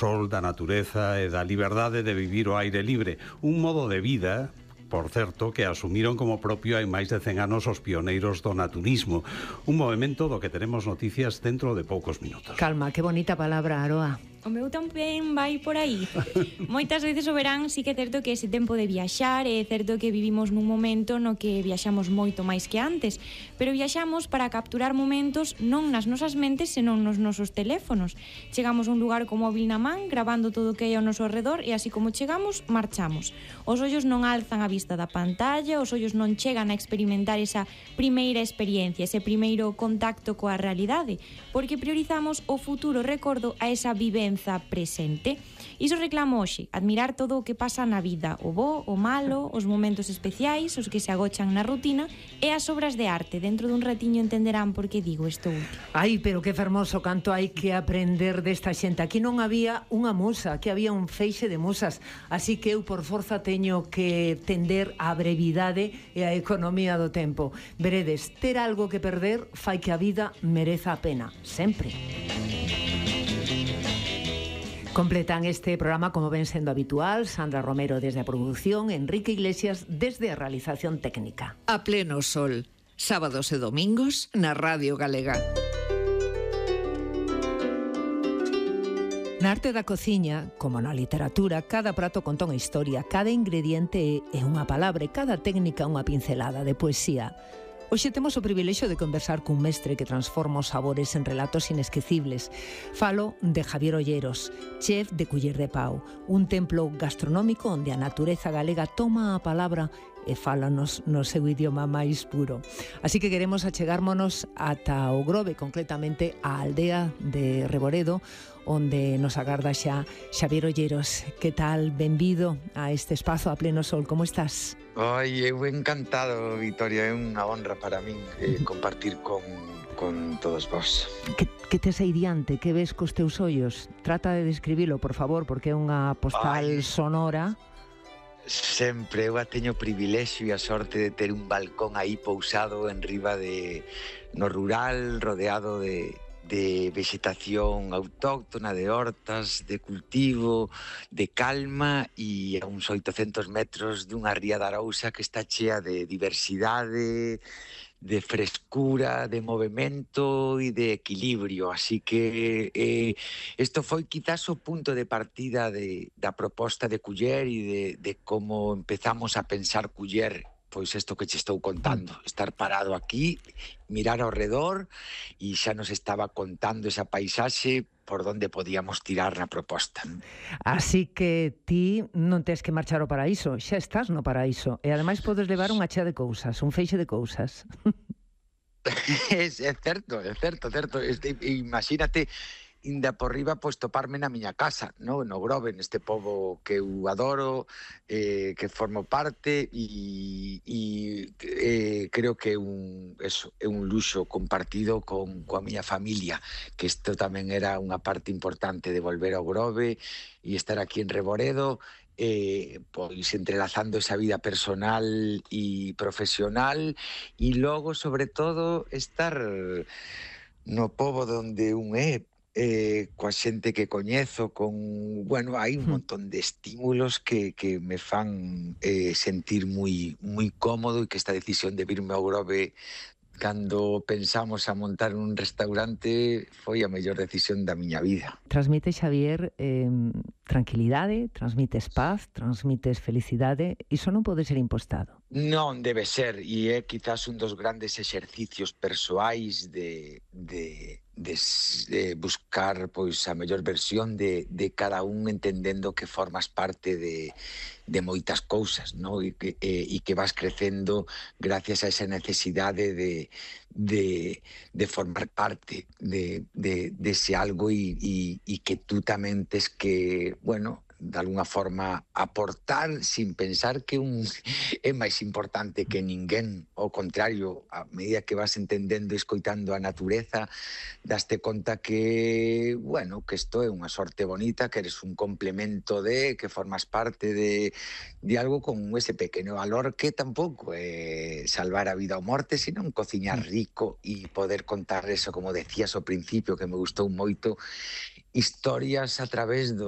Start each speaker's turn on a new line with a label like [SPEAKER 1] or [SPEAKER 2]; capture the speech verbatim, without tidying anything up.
[SPEAKER 1] sol, da natureza e da liberdade de vivir o aire libre. Un modo de vida, por certo, que asumiron como propio hai máis de cen anos os pioneiros do naturismo. Un movimento do que teremos noticias dentro de poucos minutos.
[SPEAKER 2] Calma, que bonita palabra, Aroa.
[SPEAKER 3] O meu tamén vai por aí. Moitas veces o verán sí que é certo que ese tempo de viaxar, é certo que vivimos nun momento no que viaxamos moito máis que antes, pero viaxamos para capturar momentos non nas nosas mentes, senón nos nosos teléfonos. Chegamos a un lugar co móvil na man, grabando todo o que hai ao noso redor, e así como chegamos, marchamos. Os ollos non alzan a vista da pantalla, os ollos non chegan a experimentar esa primeira experiencia, ese primeiro contacto coa realidade, porque priorizamos o futuro recordo a esa vivencia presente. Iso reclamo hoxe, admirar todo o que pasa na vida, o bo, o malo, os momentos especiais, os que se agochan na rutina e as obras de arte. Dentro dun ratiño entenderán por que digo isto último.
[SPEAKER 2] Ai, pero que fermoso canto hai que aprender desta xente. Aquí non había unha musa, aquí había un feixe de musas, así que eu por forza teño que tender á brevidade e á economía do tempo. Veredes, ter algo que perder fai que a vida mereza a pena, sempre. Completan este programa, como ven sendo habitual, Sandra Romero desde a produción, Enrique Iglesias desde a realización técnica.
[SPEAKER 4] A pleno sol, sábados e domingos na Radio Galega.
[SPEAKER 2] Na arte da cociña, como na literatura, cada prato conta unha historia, cada ingrediente é unha palabra e cada técnica unha pincelada de poesía. Hoxe temos o privilexio de conversar cun mestre que transforma os sabores en relatos inesquecibles. Falo de Javier Olleros, chef de Culler de Pau, un templo gastronómico onde a natureza galega toma a palabra e fálanos no seu idioma máis puro. Así que queremos achegármonos ata o Grove, concretamente á aldea de Reboredo, onde nos agarda xa Xavier Olleros. Que tal? Benvido a este espazo a pleno sol. Como estás?
[SPEAKER 5] Ai, eu encantado, Victoria. É unha honra para min eh, compartir con, con todos vós.
[SPEAKER 2] Que, que tes aí diante? Que ves cos teus ollos? Trata de describilo, por favor, porque é unha postal Ai. sonora.
[SPEAKER 5] Sempre, eu teño o privilexio e a sorte de ter un balcón aí pousado en riba de no rural, rodeado de de vegetación autóctona, de hortas, de cultivo, de calma e a uns oitocentos metros dunha ría de Arousa que está chea de diversidade, de frescura, de movimento e de equilibrio. Así que eh, isto foi quizás o punto de partida de, da proposta de Culler e de, de como empezamos a pensar Culler, pois isto que che estou contando, estar parado aquí, mirar ao redor e xa nos estaba contando esa paisaxe por onde podíamos tirar na proposta.
[SPEAKER 2] Así que ti non tes que marchar ao paraíso, xa estás no paraíso e ademais podes levar unha chea de cousas, un feixe de cousas.
[SPEAKER 5] é, é certo, é certo, certo. Este, imagínate inda por riba, pois toparme na miña casa, no, no Grove, neste pobo que eu adoro, eh, que formo parte e, e eh, creo que é un, eso, é un luxo compartido con coa miña familia, que isto tamén era unha parte importante de volver ao Grove e estar aquí en Reboredo, eh, pois entrelazando esa vida personal e profesional e logo, sobre todo, estar no pobo donde un é, eh, coa xente que coñezo, con, bueno, hai un montón de estímulos que, que me fan eh, sentir moi, moi cómodo e que esta decisión de virme ao Grove cando pensamos a montar un restaurante foi a mellor decisión da miña vida.
[SPEAKER 2] Transmite, Xavier, eh, tranquilidade, transmites paz, transmites felicidade, iso non pode ser impostado.
[SPEAKER 5] Non debe ser, e é quizás un dos grandes exercicios persoais de, de, de, de buscar pois a mellor versión de, de cada un, entendendo que formas parte de, de moitas cousas, ¿no? E que, e, e que vas crecendo gracias a esa necesidade de, de, de formar parte de, de, de ese algo e, e, e que tú tamén tes que, bueno, de alguna forma aportar sin pensar que un é máis importante que ninguén. Ao contrario, a medida que vas entendendo e escoitando a natureza, daste conta que, bueno, que isto é unha sorte bonita, que eres un complemento de, que formas parte de, de algo con ese pequeno valor que tampouco é salvar a vida ou morte, senón cociñar rico e poder contar eso, como decías ao principio, que me gustou moito, historias a través do